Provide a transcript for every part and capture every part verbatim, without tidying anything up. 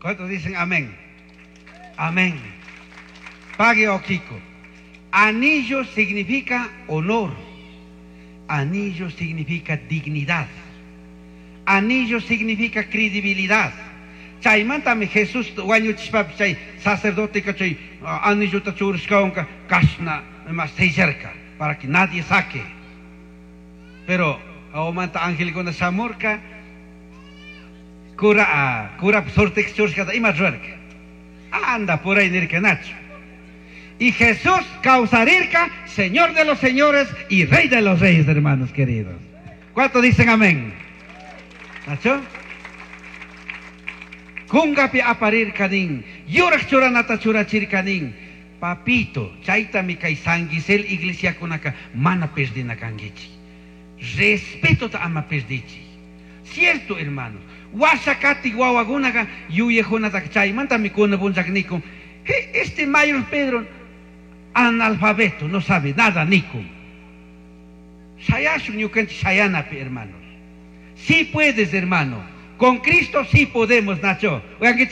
¿Cuántos dicen amén? Amén. Pague Oquico. Anillo significa honor. Anillo significa dignidad. Anillo significa credibilidad. Chaymantami Jesús wañuchishpapish chay sacerdote chay anillota churashkawanka kashna más sellarka para que nadie saque. Pero aumanta angelkuna shamurka cura cura sortex churashkata ima rurarka. Anda por ahí nirka nacho. Y Jesús kawsarirka, Señor de los señores y Rey de los reyes, hermanos queridos. ¿Cuántos dicen amén? ¿Nacho? Kungapi aparirka nin, yuraj churanata churachirka nin. Papito, chaytami kay San Gisel iglesiakunaka mana perdina kankichik. Respetota ama perdichik. Cierto, hermanos. Washa kati wawakunaka yuyajunataka chaymantami kuna punchak nikun. Este mayor Pedro, analfabeto, no sabe nada nikun. Shayashun ñukanchik shayanapi, hermanos. Sí puedes, hermano. Con Cristo sí podemos, Nacho. Oigan,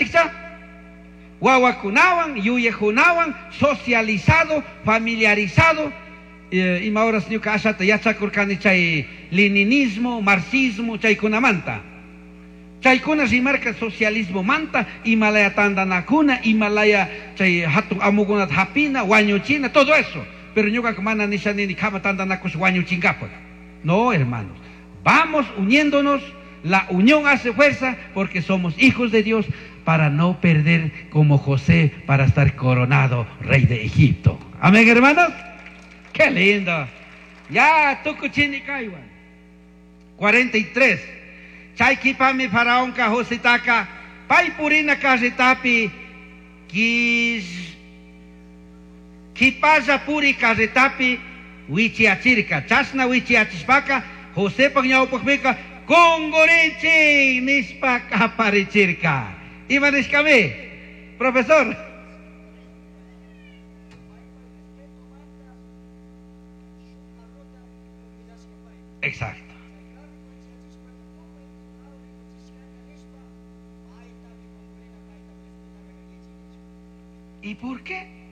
Wawakunawan, yuyakunawan, socializado, familiarizado. Eh, ima horas ñuka ashata yachakurkani chay leninismo, marxismo, chaykunamanta. Chaykuna rimarka socialismo manta, imalaya tandanakuna, imalaya chay hatun amukunata hapina, wañuchina, todo eso. Pero ñuka mana nisha nini kama tandanakush wañuchinkapak. No, hermanos. Vamos uniéndonos. La unión hace fuerza porque somos hijos de Dios para no perder como José para estar coronado rey de Egipto. Amén, hermanos. Qué lindo. Ya, tukuchini kaywan. cuarenta y tres. Chay kipami faraonka Josetaka pay purina carretapi kis kipalla puri carretapi wichiachirka. Chashna wichiachishpaka Josepak ñawpakpika kungurichik nishpa kaparichirka. Ima nishkami? Profesor. Respeto manta shuk carrota convidashka pay. Exacto. Chay carro wichiyachishpaka tukuy carro rikuchishkaka nishpa paytami kungurina, paytami respetana kankichik nishpa. ¿Y por qué?